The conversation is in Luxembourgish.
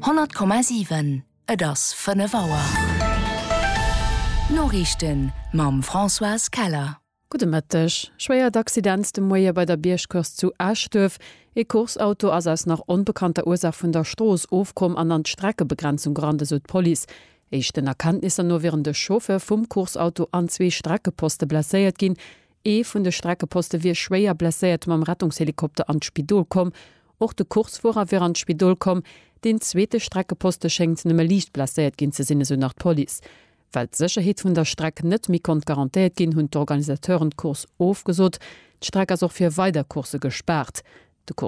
100,7 Et ass 5 Auer. D'Noriichten mam Françoise Keller. Gudde Mëtteg. Schwéiert Accident de Moie bei der Biergcourse zu Eschduerf. Ee Course-Auto ass aus nach onbekannter Ursaach vun der Strooss ofkomm an an d'Streckebegrenzung gerannt, esou d'Police. Éischten Erkenntnisser no wieren de Chauffeur vum Course-Auto an zwee Streckeposte blesséiert ginn. Ee vun de Streckeposte wier schwéier blesséiert mam Rettungshelikopter an d'Spidol komm. Och de Coursefuerer wier an d'Spidol komm. Deen zweete Streckeposte schéngt nëmme liicht blesséiert ginn ze sinn, esou nach d'Police. Well d'Sécherheet vun der Streck net méi konnt garantéiert ginn, hunn d'Organisateuren d'Course ofgesot. D'Streck ass och fir weider Coursse gespaart.